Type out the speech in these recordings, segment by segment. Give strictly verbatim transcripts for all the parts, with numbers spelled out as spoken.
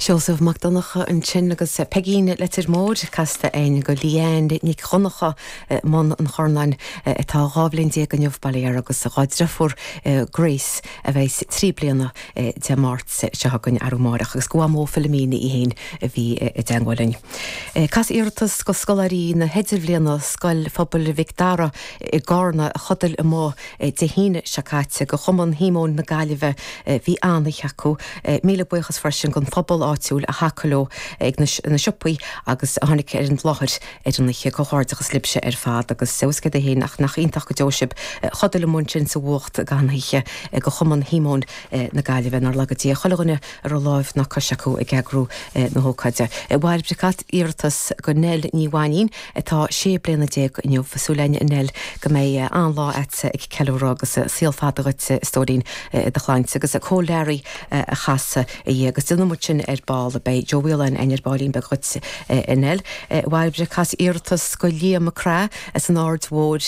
Seosamh Mac Donncha ansin agus Peigín Leitir Móir casta againn do Leanne Nic Dhonncha mBun an Chornáin atá dhá bhliain déag inniu bail ó Dhia agus dá deirfiúr Grace a bheas trí bliana Dé Máirt seo chugainn arú amárach agus go mó Philomena í féin a bhí i dteagmháil linn. Cas iarratas go scoláirí na hidirbhliana Scoil Phobail Mhic Dara i gCarna a chodail amuigh Dé hAoine seo caite go Chumann Shíomóin na Gaillimhe bhí an-oíche acu míle buíochas freisin don phobal áitiúil a thacaigh leo ag na siopaí agus a tháinig ar an láthair ar an oíche comhghairdeachas libhse ar fad agus céad a haon ach nach iontach go deo sibh chodail amuigh ansin sa bhfuacht gan oíche go Chumann Shíomóin na Gaillimhe nár laga Dia chuile dhuine a raibh lámh ná cois acu ag eagrú na hócáide. Bhairbre iarratas go Nell Ní Bhainín atá sé bliana déag inniu súil againn a Nell go mbeidh an-lá agatsa ag ceiliúradh agus saol fada duit stóirín do shláinte agus Cóil Learaí a chas í agus déanfaidh muid sin ar ball beidh Joe Whelan ar baillín beag duit a Nell. Bhairbre cas iarratas go Liam McCra as an Aird Mhóir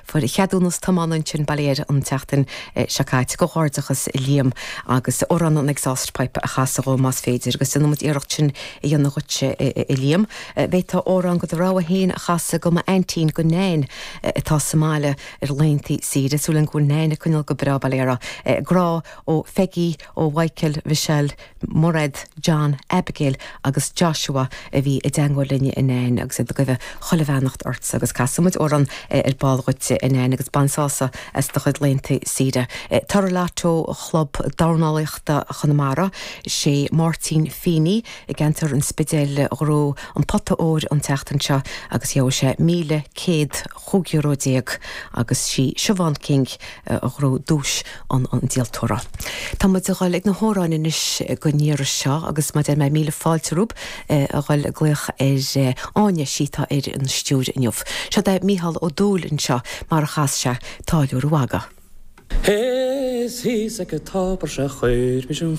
fuair ceadúnas tiomána ansin bail ó Dhia air an tseachtain seo caite comhghairdeachas Liam agus amhrán an exhaust pipe a chasadh dhó más féidir agus déanfaidh muid iarracht sin a dhéanamh duit a Liam. B'fhéidir amhrán de do rogha féin a chasadh go m'aintín go Nain atá sa mbaile ar laethanta saoire súil go bhfuil Nain ag coinneáil go breá bail ó Dhia uirthi. Grá ó Pheggy ó Mhichael Michelle Mairéad John Abigail agus Joshua a bhí i dteagmháil linn a Nain agus ag guí chuile bheannacht ort agus casfaimid amhrán ar ball duit a Nain agus bain sásamh as do chuid laethanta saoire. Toradh Lotto Chlub Dornálaíochta Chonamara sé Máirtín Feeney i gceantar an Spidéil a ghnóthaigh an pota óir an tseachtain seo agus gheobhaidh sé míle céad chúig euro déag agus sí Siobhán King a ghnóthaigh duais an an díoltóra. Tá muid ag dul ag na hamhráin anois go n-iarraidh seo agus má deir mé míle fáilte romhaibh a dhul ag glaoch ar Áine sí atá ar an stiúir inniu. Seo é Mícheál Ó Dúill anseo mar a chas sé Táilliúir an Mhagaidh. Is thíos ag an tobar sé chuir mise an